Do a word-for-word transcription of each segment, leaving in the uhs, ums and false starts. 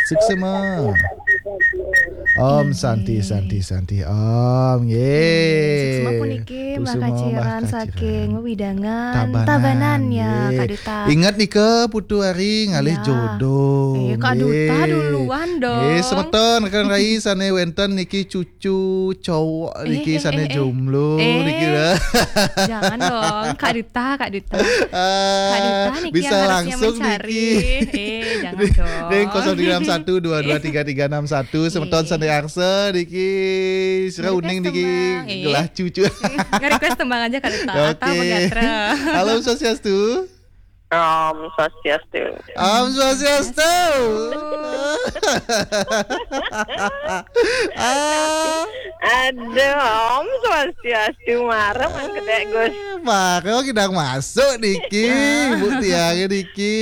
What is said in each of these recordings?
Suksma. Om Santi, Santi, Santi. Om, nggih. Suksma puniki Mbah Kaciran saking Wewidangan Tabanan, ya, nggih. Kak Duta. Ingat nika, Putu Ari ngalih jodoh. Eh, Kak Duta duluan dong. Nggih, semeton rekan rai sane wenten niki cucu cowok niki sane jomblo niki, dah. Jangan dong, Kak Duta, Kak Duta. Kak Duta niki bisa yang harusnya langsung mencari. Niki. Eh, jangan dong. Ring kosong tiga enam satu dua dua tiga tiga enam satu, semeton sane arsa niki, sira uning niki, gelah cucu. Nge-request tembang aja, Kak Duta. Atau Bang Gatra. Halo, Swastiastu. Om Swastiastu. Om Swastiastu. Ah. Aduh, Om Swastiastu, marem kedek, Gus. Marem kidang masuk niki, Bu Tiang niki.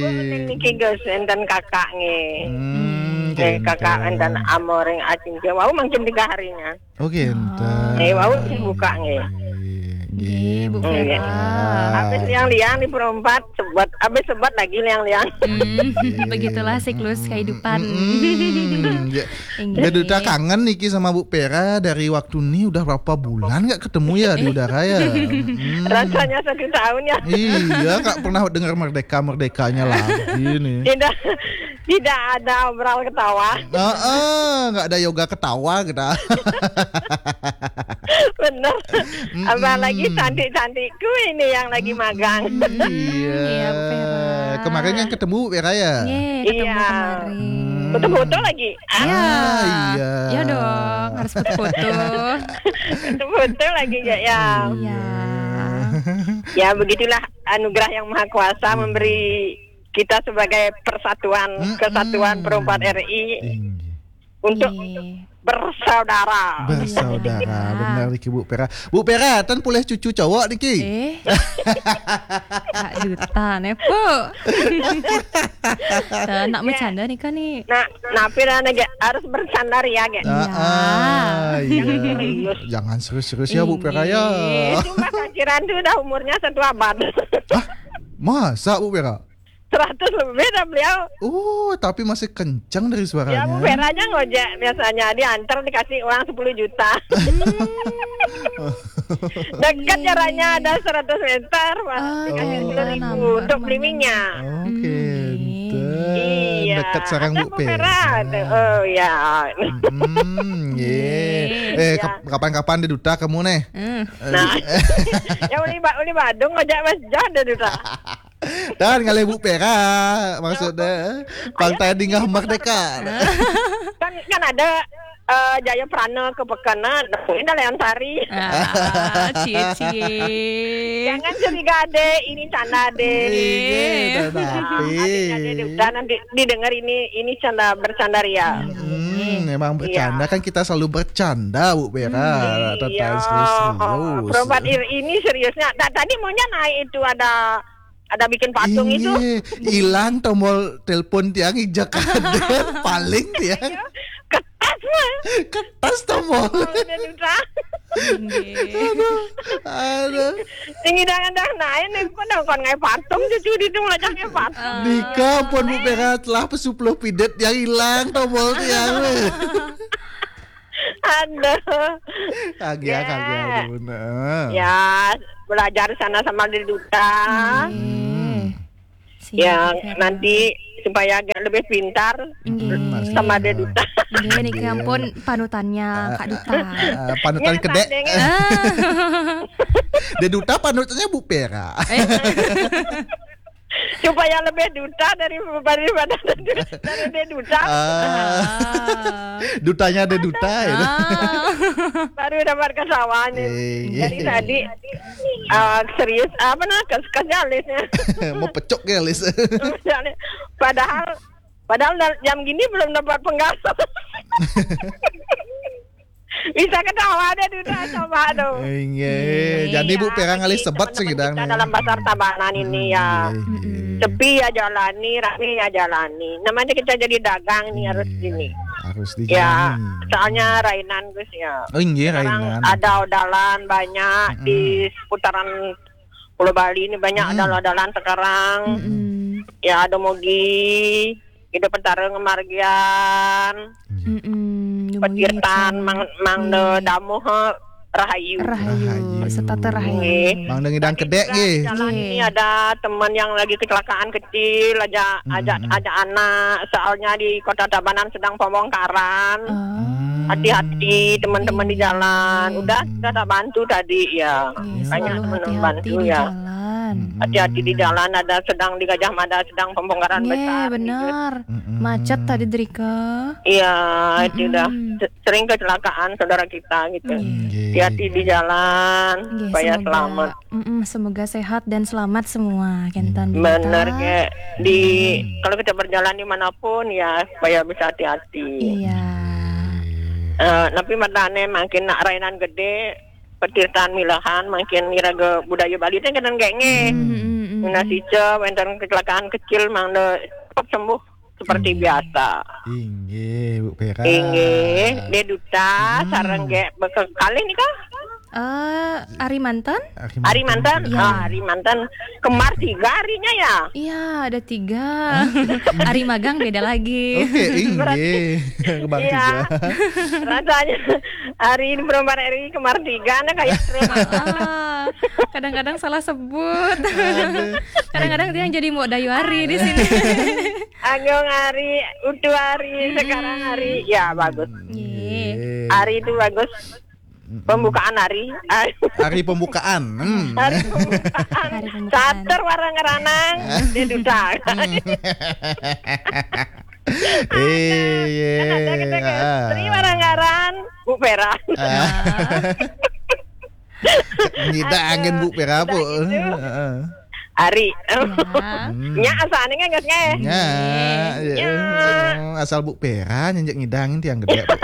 Ibu niki, Gus, enten kakak nggih. Hmm, eh, kakak enten amoring acing. Wau mungkin tiga harinya. Oke, enten. Eh, wau sing buka nggih. Nggih, Bu Vera. Habis liang-liang di perempat, sebat, habis sebat lagi liang-liang. Hmm, begitulah siklus kehidupan. Nggih. Mbak Duta kangen niki sama Bu Vera dari waktu ni udah berapa bulan nggak ketemu ya di udara ya? Rasanya satu tahun ya. Iya, nggak pernah dengar merdeka-merdekanya lagi nih. Tidak, tidak ada obral ketawa. Heeh, nggak ada yoga ketawa kita. Bener. Apalagi cantik-cantikku ini yang lagi magang. Iya. Iya, Bu Vera. Kemarin kan ketemu Bu Vera ya? Nggih, ketemu kemarin. Foto-foto lagi. Ah, iya. Iya dong, harus foto-foto. Foto-foto lagi ya, ya. Iya. Ya, begitulah anugerah yang maha kuasa memberi kita sebagai persatuan, kesatuan perempat R I untuk bersaudara. Bersaudara, benar niki, Bu Vera. Bu Vera, ten polih cucu cowok niki. Eh. Kak Duta ne, Bu. Tuh, nak bercanda nih kan nih. Nah, napi dah nege harus bercanda ya, ge. Ah, iya. Serius. Jangan serius-serius ya, Bu Vera ya. Cuma Kaciran tuh udah umurnya satu abad. Hah? Masa, Bu Vera? Seratus lebih dah beliau. Oh, tapi masih kencang dari suaranya. Ya, Bu Vera aja ngojek biasanya, diantar dikasih uang sepuluh juta. Dekat jaraknya, ada seratus meter, Mas. Dikasih sepuluh ribu untuk beli minyak. Oke, enten. Iya. Dekat sarang Bu Vera. Oh, ya. Hmm, nggih. Eh, kapan-kapan di Duta kamu nih. Nah. Ya, uli Badung ngojek Mas John di Duta. Dan ngalih Bu Vera, maksudnya, Partai Dingah Merdeka. Kan, kan ada, eh, Jaya Prana ke Pekana, nemuin dah Leon Sari. Ah, cie, cie. Jangan curiga, Dek, ini canda, Dek. Iya, tapi. Adiknya Dek Duta nanti didengar ini, ini canda, bercanda ria. Hmm, memang bercanda kan, kita selalu bercanda, Bu Vera. Iya. Serius-serius. Perempat ini seriusnya. Tadi maunya naik itu ada ada bikin patung itu. Iya, hilang tombol telepon tiang ijak ada paling tiang. Kertas mah. Kertas tombol. Aduh, aduh. Tinggi dangan dah naik nih, kok dah kon ngai patung cucu di tu macam ngai patung. Nika pun Bu Vera telah pesupuluh pidet yang hilang tombol tiang. Aduh. Kagak, kagak, aduh, bener. Ya, belajar sana sama di Duta. Ya, nanti supaya agak lebih pintar sama di Duta. Nggih, niki ampun panutannya Kak Duta. Panutan kedek. Di Duta panutannya Bu Vera. Supaya lebih duta dari, daripada dari dia duta. Dutanya ada duta ya. Baru dapat kesawahnya. Jadi tadi, eh, serius apa, nah, kes-, kesnya alisnya. Mau pecok ya alis. Padahal, padahal jam gini belum dapat penggasos. Bisa ketawa deh, Duta, coba dong. Inggih. Jadi Bu Vera ngalih sebet sing kita dalam pasar Tabanan ini ya. Sepi ya jalani, rame ya jalani. Namanya kita jadi dagang nih, harus gini. Harus dijalani. Ya, soalnya rainan, Gus, ya. Oh, inggih, rainan. Sekarang ada odalan banyak di seputaran Pulau Bali ini, banyak odalan-odalan sekarang. Ya, ada mogi. Ida Petara ngamargiang. Nggih. Mm-mm, lumayan petirtan, ya, Mang, Mang, nggih, damuh, eh, rahayu. Rahayu, rahayu, setata rahayu. Nggih. Mang ngidang kedek, juga nggih. Jalan, nggih, ini ada teman yang lagi kecelakaan kecil, ajak, mm-mm, ajak, ajak anak, soalnya di Kota Tabanan sedang pembongkaran. Oh. Hmm. Hati-hati teman-teman di jalan. Nggih. Udah, kita tak bantu tadi, ya. Nggih, banyak selalu teman hati-hati bantu, di ya, jalan. Mm-mm. Hati-hati di jalan, ada sedang di Gajah Mada, sedang pembongkaran, nggih, besar, gitu. Benar. Mm-mm. Macet tadi, Drika. Iya, itu dah. Mm-mm. Se-, sering kecelakaan saudara kita, gitu. Nggih. Nggih. Hati-hati di jalan, nggih, supaya semoga selamat. Mm-mm, semoga sehat dan selamat semua, kenten. Nggih. Bener, Kak. Di, hmm, kalau kita berjalan dimanapun, ya, supaya bisa hati-hati. Iya. Nggih. Eh, tapi matane makin nak rainan gede, petirtan milahan, makin ngiraga budaya Bali teh kenten gengeh. Hmm, hmm, hmm, hmm. Nah, sica wenten kecelakaan kecil, mangda cepat sembuh seperti, nggih, biasa. Inggih, Bu Pera. Inggih, Dek Duta, hmm, sareng Dek bekekalih nika? Eh, Ari Mantan? Ari Mantan? Ari Mantan? Ya. Ah, Ari Mantan. Kembar tiga arinya ya? Iya, ada tiga. Ari magang beda lagi. Oke, inggih. Berarti, kembar, iya, tiga. Rasanya Ari di Perempuan R I kembar tiga, nah kayak truk. Ah, kadang-kadang salah sebut. Aduh. Kadang-kadang dia yang jadi Mbok Dayu Ari di sini. Agung Ari, Utu Ari, hmm, sekarang Ari. Ya, bagus. Iya. Ari itu bagus. Mm-mm. Pembukaan hari. Hari pembukaan. Hmm. Hari pembukaan. Hari pembukaan. Catur warang ranang, dia duta. Hmm. Ada. Iya. Kan ada kita ke, ah, Sri warang ngaran, Bu Pera. Ah. Ngidang angin Bu Pera, Bu. Udah gitu. Heeh. Ari. Ya. Hmm. Nya asal ning nggak, nggih. Nya, nya, ya, asal Bu Pera nyenjek ngidangin tiang gede, Bu.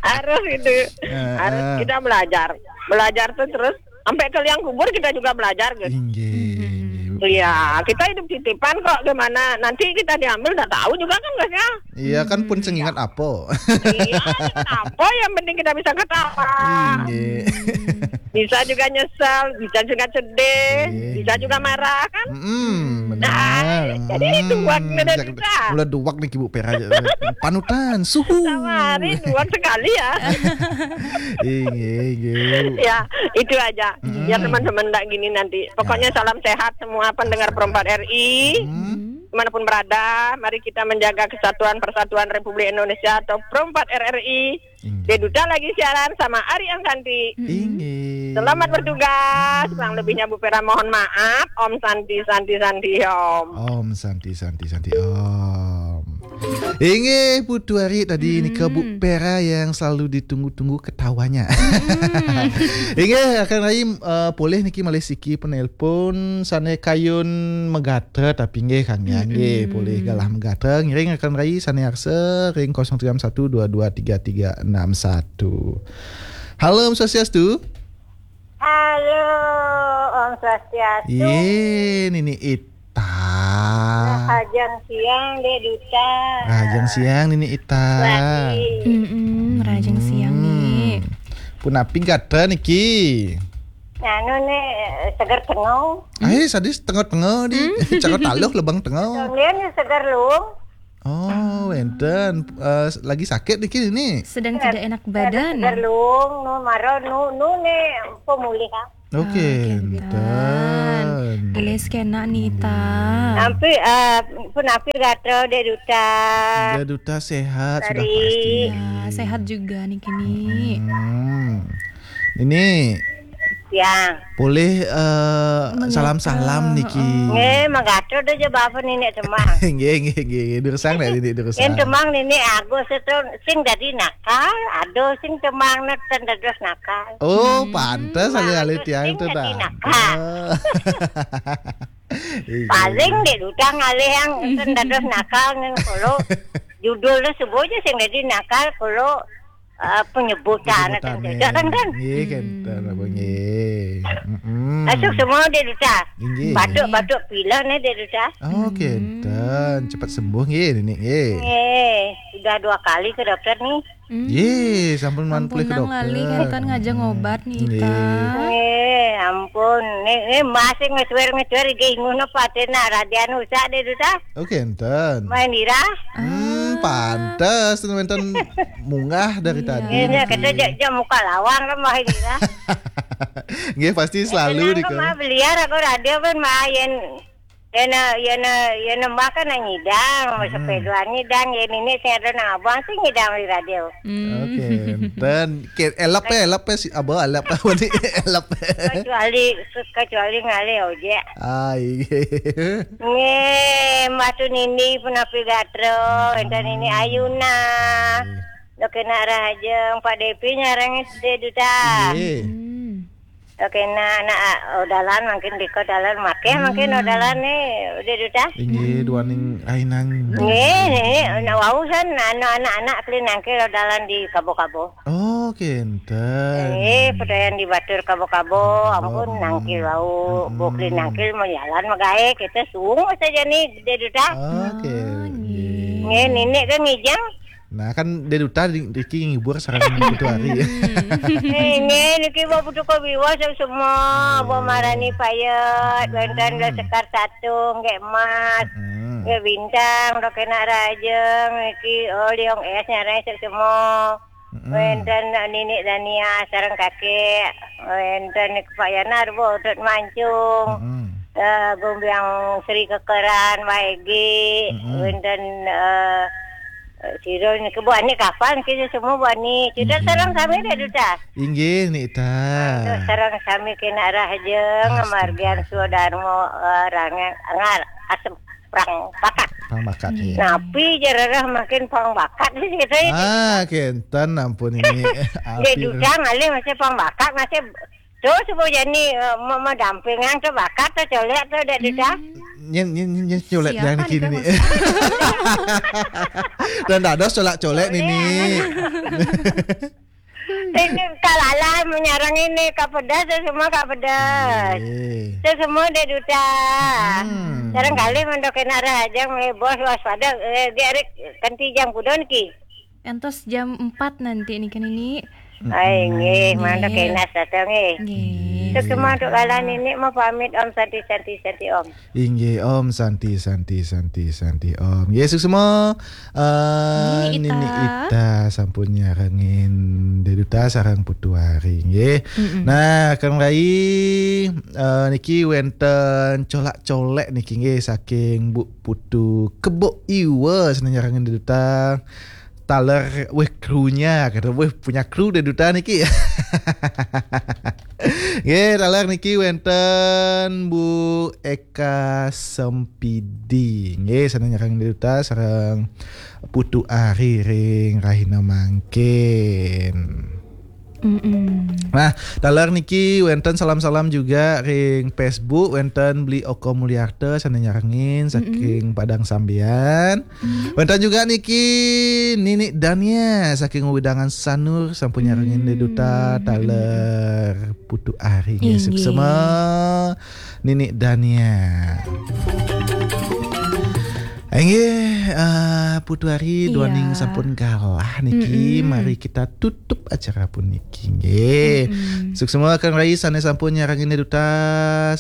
Harus itu. Heeh. Harus kita belajar. Belajar tuh terus sampai ke liang kubur kita juga belajar, guys. Inggih, hmm, inggih, Bu. Iya, kita hidup titipan kok, gimana nanti kita diambil nggak tahu juga kan, guys, ya. Iya, kan pun, hmm, sing ingat apa. Iya, apa yang penting kita bisa ketawa. Inggih. Bisa juga nyesel, bisa juga sedih, iya, bisa juga marah, kan? Mm-mm, nah, benar. Jadi duwag, hmm, nih, bisa, bisa. Mulai duwag nih, Ibu Pera aja. Panutan, suhu. Sama hari duwag sekali ya. Inggih, inggih. Ya, itu aja. Mm-mm. Ya, teman-teman, ndak gini nanti. Pokoknya ya, salam sehat semua pendengar, salam sehat. Perempat R I. Hmm. Dimanapun berada, mari kita menjaga kesatuan persatuan Republik Indonesia atau Perempat R R I. Inggih. Dia Duta lagi siaran sama Ari Angsanti. Mm-mm. Inggih. Selamat bertugas. Kurang lebihnya Bu Pera mohon maaf. Om Santi, Santi, Santi, Om. Om Santi, Santi, Santi, Om. Inggih, Putu Ari tadi, mm-mm, nika Bu Pera yang selalu ditunggu-tunggu ketawanya. Mm-mm. Inggih, akan lagi, eh, polih niki malih siki penelpon sane kayun megatra, tapi nggih, kan, ya, nggih, mm-mm, polih galah megatra, ngiring akan rai sane arsa ring kosong tiga enam satu dua dua tiga tiga enam satu. Halo, Om Swastiastu. Halo, Om Swastiastu. Ye, Nini Ita. Rahajeng siang, Dek Duta. Rahajeng siang, Nini Ita. Lagi. Mm-mm, rahajeng siang, mm-mm, nih. Punapi gatra niki? Anu nih, seger tengau. Ai, sadis tengau-tengau di. Hmm? Cara taluh lebang tengau. Kemudian seger luung. Oh, wenten. Eh, lagi sakit niki, Nini? Sedang tidak enak badan. Seger luung, nu maro, nu, nu nih pemulihan. Oke, ah, kenten. Enten. Gelis kena, Nita. Nggih. Tapi, eh, punapi gatra, Dek Duta. Dek Duta sehat sudah pasti. Ya, sehat juga niki, Ni. Hmm. Ini ya. Boleh, eh, salam-salam niki. Nggih, mangga atur aja bapak Nini Temang. Nggih, nggih, nggih, nggih. Durusang nek Nini durusang. Yen Temang Nini Agus itu sing dadi nakal, aduh sing Temang nek ten dados nakal. Oh, hmm, pantes alih-alih tiang itu, sing dadi nakal. Oh. Iya. Paling Dek Duta ngalih yang ten dados nakal nen kulo. Judulnya sebut aja sing dadi nakal kulo. Eh, penyebutan, penyebutan, kan, kan? Nggih, hmm, kenten, apa, nggih. Mm-mm. Masuk semua, Dek Duta. Inggih. Batuk-batuk pilek nih, Dek Duta. Oh, hmm, kenten. Cepat sembuh, nggih, Nini, nggih. Nggih. Sudah dua kali ke dokter nih. Hmm. Ye, sampun maan Ampun, pelih ke nang dokter. Lali, kan ngajeng obat nih, Nggih. Ita. Eh, ampun. Nih, nih masih ngecuer-ngecuer, inggih inguh napa ate nak radian usah deh, Duta. Oke, enten. Main ira. Hmm, Ah. Pantes, wenten munggah dari Iya. tadi. Ini kata jak, jak muka lawang kan, main ira. Nggih, pasti selalu Tenang, di kok, mah, beliar aku radio kan, mah, yen, yen, yen, yen, mah kan ngidang, Hmm. Sepedaan ngidang, yen ini sing ada nang abang sih ngidang di radio. Hmm. Oke, enten. Ke, elep ya, elep ya, si, apa, elep apa nih? Elep. Kecuali, kecuali ngalih ojek. Ah, iya. Nggih, Mbah Tunindi punapi gatra, enten ini Ayuna. Nggih. Dok kena rahajeng, Pak Depi nyarang deh, Duta. Nggih. Hmm. Dok kena anak, ah, odalan mungkin diko dalan makeh mungkin Hmm. odalan nih, udah, Duta. Inggih, Hmm. duaning rahinang. Nggih, nggih, nak wau san, anu anak-anak keli nangkil odalan di kabo-kabo. Oh, kenten. Eh, pedayan di batur kabo-kabo, ampun, Oh. Nangkil wau, Hmm. bukli nangkil mau jalan magae, kita suung saja nih, deh, Duta. Oke, Oh, nggih. Nggih, nggih. Nini kan ngijang. Nah, kan deh Duta di, Riki ngibur sareng Putu Ari. Hmm. Eh, nggih, niki bawa Putu Kobiwa semua, Nggih. Bawa Marani Payet, wenten Hmm. Sekar Satu, nggih Emas, Hmm. nggih Bintang, dok kena rahajeng, niki, oh, Liong Es nyarang semua. Mm-mm. Wenten Nini Dania sareng kakek, wenten Pak Yanar, Bu Tut Mancung, Mm-mm. eh, Gombiang Sri Kekeran, Waigi, Mm-mm. Wenten, eh, eh, Siro niki Bu Ani kapan kita semua Bu Ani. Kita Inggih. Sareng sami deh, Duta. Inggih, Nita. Untuk sareng sami kena rahajeng, Astaga. Margian Sudarmo, eh, Rangen, Ngar, Asem, Prang Pakat. Prang Pakat, Nggih. Iya. Napi jararah makin Prang Pakat sih kita ini. Ah, kenten ampun ini. Dia Api. Duta ngalih masih Prang Pakat, masih tuh sebut jani, eh, mau, mau dampingan tuh bakat tuh colek tuh, dek Duta. Hmm. Nyen, nyen, nyen, nyen, colek Siapa yang nih, kini Kak, nih. Maksudnya? Dan dados colek-colek nih, Colek. Nih. Ini kalalah menyarang ini, kapedas, saya semua kapedas. Nggih. Saya semua dek Duta. Hmm. Sareng kalih mendok kena rahajeng, eh, bos waspada, eh, dia Rik, kanti jam kudon ki. Entos jam empat nanti nih, kan ini. Ai, nggih, Nggih. Mantap kena datang, nggih. Nggih. Nggih. Terus semua untuk kalah ini mau pamit, Om, santi, santi, santi, Om. Inggih, Om, santi, santi, santi, santi, Om. Nggih, suksma, eh, Nini Ita. Nini Ita sampun nyarengin dek Duta sareng Putu Ari, nggih. Mm-mm. Nah, Kang Rai, eh, niki wenten colak-colek niki, nggih, saking Bu Putu Kebo Iwa, sané nyarengin dek Duta. Taler, weh, krunya, kata, weh, punya kru dek Duta niki. Nggih, taler niki wenten Bu Eka Sempidi. Nggih, sané nyarengin dek Duta sareng Putu Ari ring rahina mangkin. Mm-mm. Nah, taler niki wenten salam-salam juga ring Facebook, wenten Bli Oko Mulyarta sané nyarengin saking Padang Sambian. Wenten juga niki Nini Dania saking wewidangan Sanur sampun nyarengin dek Duta taler Putu Ari, nggih, suksma Nini Dania. Inggih, eh, Putu Ari, duaning sampun galah niki, mari kita tutup acara puniki, nggih. Suksma Kang Rai sané sampun nyarengin dek Duta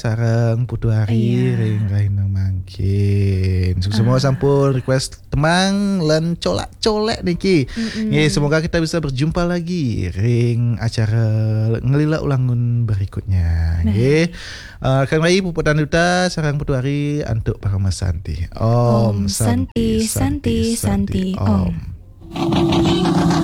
sareng Putu Ari ring rahina mangkin. Suksma sampun request tembang lan colak-colek niki. Nggih, semoga kita bisa berjumpa lagi ring acara Ngelila Ulangun berikutnya. Nggih. Eh, Kang Rai, puputang Duta sareng Putu Ari antuk parama santi. Om Santi, Santi, Santi, Om.